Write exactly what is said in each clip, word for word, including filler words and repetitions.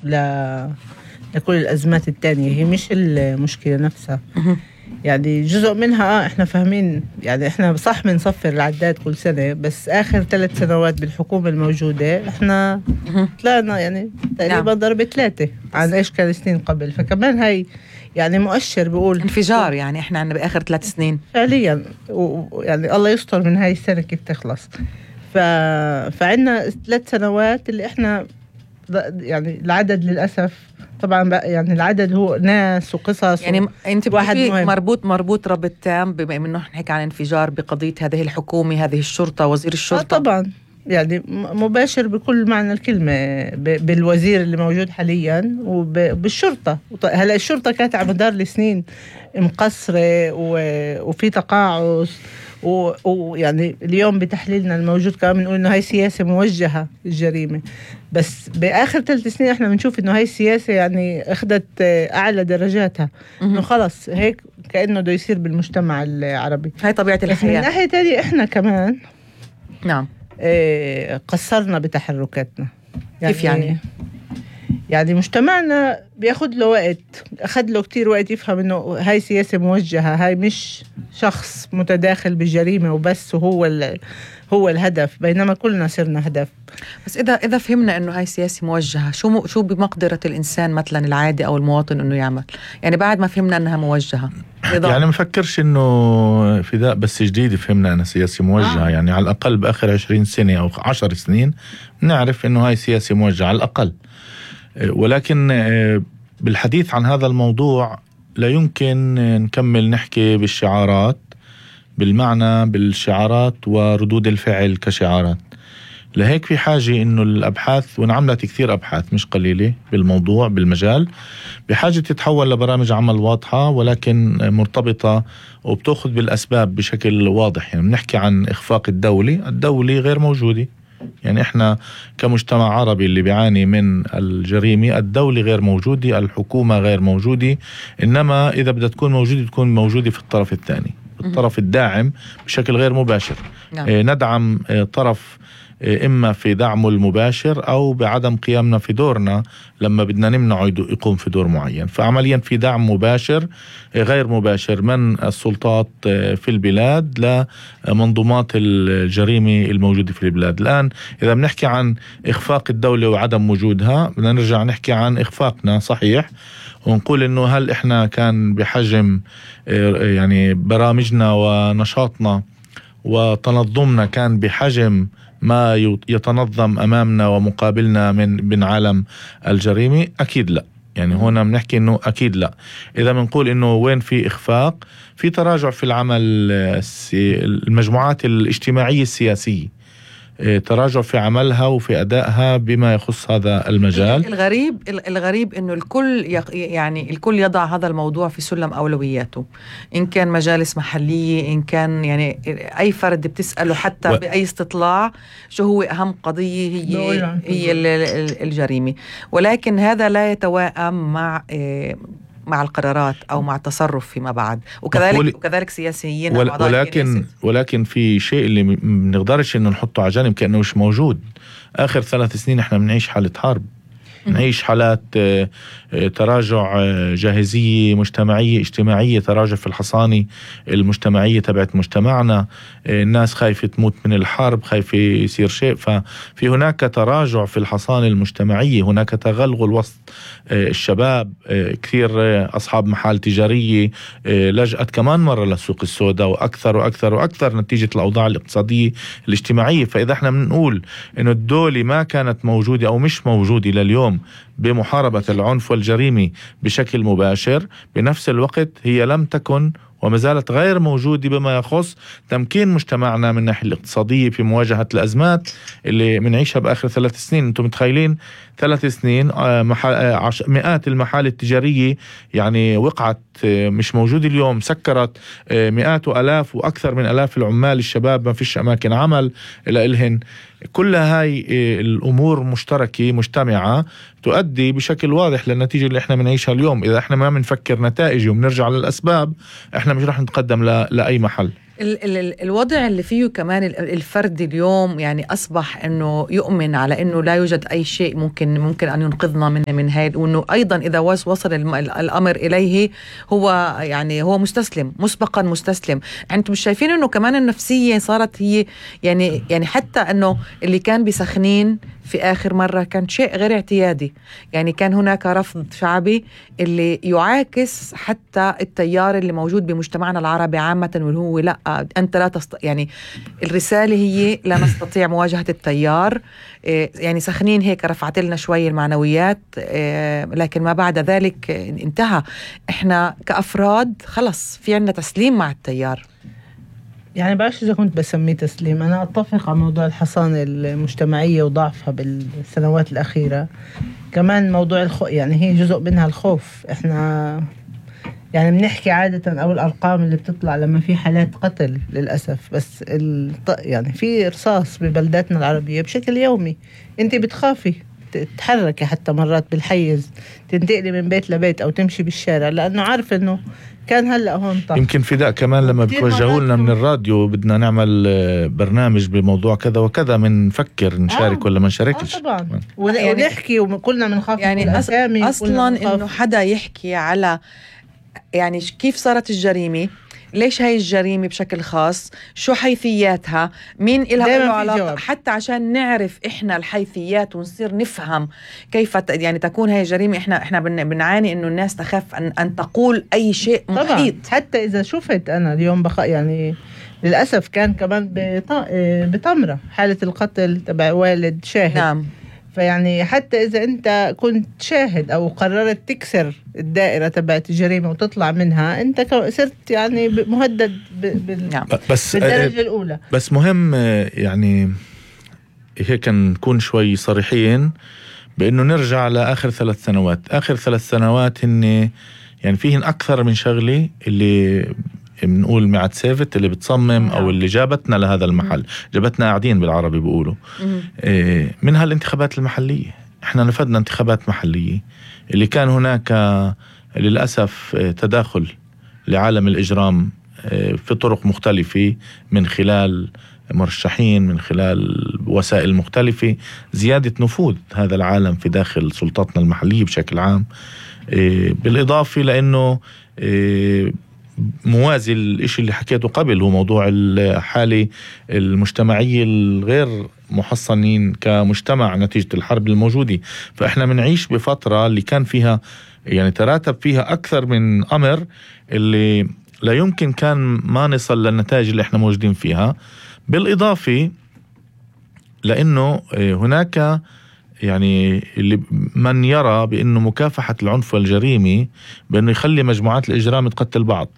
ل... لكل الأزمات التانية. هي مش المشكلة نفسها. يعني جزء منها آه إحنا فاهمين، يعني إحنا صح بنصفر العداد كل سنة، بس آخر ثلاث سنوات بالحكومة الموجودة إحنا طلعنا يعني تقريبا ضرب ثلاثة عن إيش كان سنين قبل. فكمان هاي يعني مؤشر بيقول انفجار. يعني إحنا عنا بآخر ثلاث سنين فعليا، ويعني الله يستر من هاي السنة كيف تخلص. ف... فعنا ثلاث سنوات اللي إحنا يعني العدد للأسف طبعا بقى، يعني العدد هو ناس وقصص. يعني انت واحد مربوط مربوط ربط تام بما انه نحكي عن انفجار بقضيه هذه الحكومه، هذه الشرطه، وزير الشرطه. آه طبعا يعني مباشر بكل معنى الكلمه بالوزير اللي موجود حاليا وبالشرطه. هلا الشرطه كانت على مدار السنين مقصره وفي تقاعس، ويعني اليوم بتحليلنا الموجود كمان بنقول انه هاي سياسه موجهه للجريمه. بس باخر ثلاث سنين احنا بنشوف انه هاي السياسه يعني اخذت اعلى درجاتها، انه خلص هيك كانه بده يصير بالمجتمع العربي. هاي طبيعه الحياه. من ناحيه ثانيه احنا كمان نعم ايه قصرنا بتحركاتنا. يعني كيف يعني؟ يعني مجتمعنا بياخد له وقت، أخذ له كتير وقت يفهم إنه هاي سياسة موجهة، هاي مش شخص متداخل بالجريمة وبس وهو هو الهدف، بينما كلنا صرنا هدف. بس إذا إذا فهمنا إنه هاي سياسة موجهة، شو شو بمقدرة الإنسان مثلا العادي أو المواطن إنه يعمل؟ يعني بعد ما فهمنا إنها موجهة يعني مفكرش إنه فداء بس جديد فهمنا أنها سياسة موجهة. آه. يعني على الأقل بآخر عشرين سنة أو عشر سنين نعرف إنه هاي سياسة موجهة على الأقل. ولكن بالحديث عن هذا الموضوع لا يمكن نكمل نحكي بالشعارات، بالمعنى بالشعارات وردود الفعل كشعارات. لهيك في حاجة إنه الأبحاث، ونعملت كثير أبحاث مش قليلة بالموضوع بالمجال، بحاجة تتحول لبرامج عمل واضحة ولكن مرتبطة وبتأخذ بالأسباب بشكل واضح. يعني بنحكي عن إخفاق الدولي، الدولي غير موجودة. يعني إحنا كمجتمع عربي اللي بيعاني من الجريمة، الدولة غير موجودة، الحكومة غير موجودة، إنما إذا بدها تكون موجودة تكون موجودة في الطرف الثاني، الطرف الداعم بشكل غير مباشر. نعم. ندعم طرف إما في دعمه المباشر أو بعدم قيامنا في دورنا لما بدنا نمنعه يقوم في دور معين. فعمليا في دعم مباشر غير مباشر من السلطات في البلاد لمنظومات الجريمة الموجودة في البلاد. الآن إذا بنحكي عن إخفاق الدولة وعدم وجودها، بدنا نرجع نحكي عن إخفاقنا صحيح، ونقول إنه هل إحنا كان بحجم يعني برامجنا ونشاطنا وتنظمنا كان بحجم ما يتنظم أمامنا ومقابلنا من من عالم الجريمة؟ أكيد لا. يعني هنا بنحكي إنه أكيد لا. إذا بنقول إنه وين في إخفاق، في تراجع في العمل المجموعات الاجتماعية السياسية، تراجع في عملها وفي أدائها بما يخص هذا المجال. الغريب الغريب إنه الكل يعني الكل يضع هذا الموضوع في سلم أولوياته، إن كان مجالس محلية، إن كان يعني أي فرد بتسأله حتى و... بأي استطلاع شو هو أهم قضية، هي هي الجريمة. ولكن هذا لا يتوائم مع مع القرارات أو مع التصرف فيما بعد، وكذلك وكذلك سياسيين. ول ولكن ولكن في شيء اللي بنقدرش إنه نحطه على جانب كأنه مش موجود. آخر ثلاث سنين إحنا بنعيش حالة حرب، نعيش حالات تراجع جاهزية مجتمعية اجتماعية، تراجع في الحصانة المجتمعية تبعت مجتمعنا. الناس خايفة تموت من الحرب، خايفة يصير شيء، ففي هناك تراجع في الحصانة المجتمعية، هناك تغلغل وسط الشباب. كثير أصحاب محال تجارية لجأت كمان مرة للسوق السوداء، وأكثر وأكثر وأكثر نتيجة الأوضاع الاقتصادية الاجتماعية. فإذا احنا بنقول إنه الدولة ما كانت موجودة أو مش موجودة لليوم بمحاربة العنف والجريمة بشكل مباشر، بنفس الوقت هي لم تكن وما زالت غير موجودة بما يخص تمكين مجتمعنا من الناحية الاقتصادية في مواجهة الأزمات اللي منعيشها بآخر ثلاث سنين. أنتم متخيلين ثلاث سنين مئات المحال التجارية يعني وقعت مش موجودة اليوم، سكرت مئات وألاف وأكثر من ألاف العمال الشباب، ما فيش أماكن عمل لإلهن. كل هاي الأمور مشتركة مجتمعة تؤدي بشكل واضح للنتيجة اللي احنا بنعيشها اليوم. إذا احنا ما بنفكر نتائج وبنرجع للأسباب، احنا مش رح نتقدم لأي محل. ال- ال- الوضع اللي فيه كمان الفرد اليوم يعني أصبح أنه يؤمن على أنه لا يوجد أي شيء ممكن ممكن أن ينقذنا من من هاي، وأنه أيضا إذا وصل الأمر إليه هو يعني هو مستسلم مسبقا مستسلم. أنتم مش شايفين أنه كمان النفسية صارت هي يعني يعني حتى أنه اللي كان بسخنين في آخر مرة كان شيء غير اعتيادي، يعني كان هناك رفض شعبي اللي يعاكس حتى التيار اللي موجود بمجتمعنا العربي عامة، واللي هو لا أنت لا تست... يعني الرسالة هي لا نستطيع مواجهة التيار. يعني سخنين هيك رفعت لنا شوي المعنويات، لكن ما بعد ذلك انتهى. احنا كأفراد خلص في عنا تسليم مع التيار. يعني بعرفش إذا كنت بسميه تسليم. أنا أتفق على موضوع الحصانة المجتمعية وضعفها بالسنوات الأخيرة. كمان موضوع الخوف، يعني هي جزء منها الخوف. إحنا يعني بنحكي عادة أو الأرقام اللي بتطلع لما في حالات قتل للأسف، بس الط... يعني في رصاص ببلداتنا العربية بشكل يومي. أنت بتخافي تتحركي حتى مرات بالحيز، تنتقلي من بيت لبيت أو تمشي بالشارع، لأنه عارف إنه كان هلأ هون طح. يمكن فداء كمان لما بتوجهوا لنا من الراديو بدنا نعمل برنامج بموضوع كذا وكذا بنفكر نشارك آه. ولا ما نشاركش. آه طبعا. ونحكي وكلنا بنخاف يعني أص... أصلا إنه حدا يحكي على يعني كيف صارت الجريمة، ليش هاي الجريمة بشكل خاص، شو حيثياتها، مين إلها علاقة، حتى عشان نعرف إحنا الحيثيات ونصير نفهم كيف يعني تكون هاي الجريمة. إحنا إحنا بنعاني إنه الناس تخاف أن أن تقول أي شيء محيط. حتى إذا شفت أنا اليوم بقى يعني للأسف كان كمان بتمرة حالة القتل تبع والد شاهد. نعم. فيعني حتى إذا أنت كنت شاهد أو قررت تكسر الدائرة تبعت الجريمة وتطلع منها، أنت صرت يعني مهدد بال... نعم. بس بالدرجة الأولى. بس مهم يعني هيك نكون شوي صريحين بأنه نرجع لآخر ثلاث سنوات. آخر ثلاث سنوات هن يعني فيهن أكثر من شغلة اللي بنقول معت سيفت اللي بتصمم أو اللي جابتنا لهذا المحل، جابتنا قاعدين بالعربي بيقولوا إيه منها الانتخابات المحلية. احنا نفذنا انتخابات محلية اللي كان هناك للأسف تداخل لعالم الإجرام في طرق مختلفة من خلال مرشحين، من خلال وسائل مختلفة، زيادة نفوذ هذا العالم في داخل سلطاتنا المحلية بشكل عام. بالإضافة لأنه موازي الاشي اللي حكيته قبل هو موضوع الحالة المجتمعية الغير محصنين كمجتمع نتيجة الحرب الموجودة. فإحنا منعيش بفترة اللي كان فيها يعني تراتب فيها أكثر من أمر اللي لا يمكن كان ما نصل للنتائج اللي إحنا موجودين فيها. بالإضافة لأنه هناك يعني اللي من يرى بأنه مكافحة العنف والجريمة بأنه يخلي مجموعات الإجرام تقتل بعض.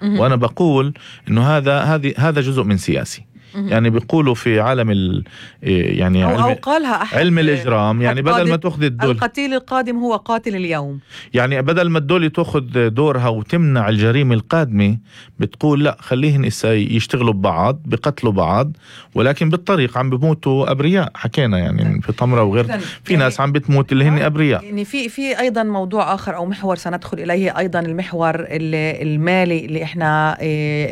وأنا بقول إنه هذا هذه هذا جزء من سياسي. يعني بيقولوا في عالم ال يعني أو علم, أو قالها علم الإجرام يعني بدل ما تأخذ الدول القتيل القادم هو قاتل اليوم، يعني بدل ما الدولة تأخذ دورها وتمنع الجريمة القادمة بتقول لا خليهن يشتغلوا ببعض بقتلوا بعض، ولكن بالطريق عم بموتوا أبرياء. حكينا يعني في طمرة وغير في يعني ناس عم بتموت اللي هن أبرياء. يعني في في أيضا موضوع آخر أو محور سندخل إليه أيضا، المحور المالي اللي إحنا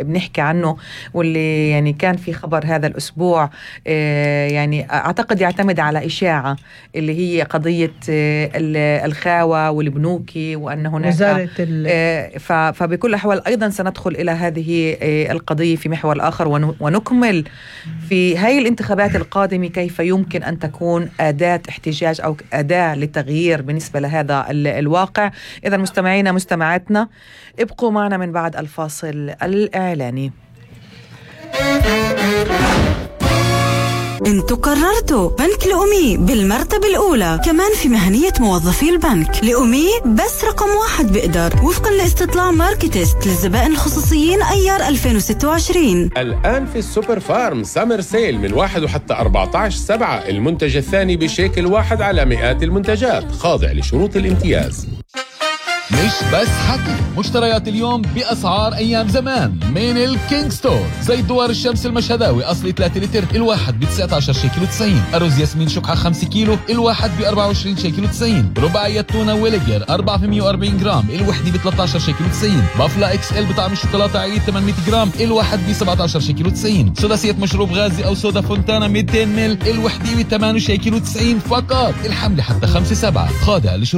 بنحكي عنه واللي يعني كان في خبر هذا الأسبوع يعني أعتقد يعتمد على إشاعة اللي هي قضية الخاوة والبنوكي وأن هناك فبكل أحوال أيضا سندخل إلى هذه القضية في محور آخر ونكمل في هاي الانتخابات القادمة كيف يمكن أن تكون أداة احتجاج أو أداة لتغيير بالنسبة لهذا الواقع. إذا مستمعينا مستمعاتنا ابقوا معنا من بعد الفاصل الإعلاني. انتوا قررتوا بنك لأمي بالمرتبة الأولى، كمان في مهنية موظفي البنك. لأمي بس رقم واحد بقدر وفقا لاستطلاع ماركتست للزبائن الخصوصيين أيار ألفين وستة وعشرين. الآن في السوبر فارم سامر سيل من واحد وحتى أربعة عشر سبعة، المنتج الثاني بشيكل واحد على مئات المنتجات، خاضع لشروط الامتياز. مش بس حكي، مشتريات اليوم بأسعار أيام زمان من الكينج ستور. زي دوار الشمس المشهداوي أصلي ثلاثة لتر الواحد ب تسعة عشر شيكل وتسعين، أرز ياسمين شقعة خمسة كيلو الواحد ب أربعة وعشرين شيكل وتسعين، رباعية تونة ويليجر أربعمية وأربعين جرام الوحدة ب ثلاثة عشر شيكل وتسعين، بافلا اكس ال بطعم الشوكولاتة عيد ثمانمية جرام الواحد ب سبعة عشر شيكل وتسعين، سداسية مشروب غازي أو سودا فونتانا مئتين مل الوحدة ب ثمانية شيكل وتسعين فقط. الحملة حتى خمسة سبعة، خاضع لشروط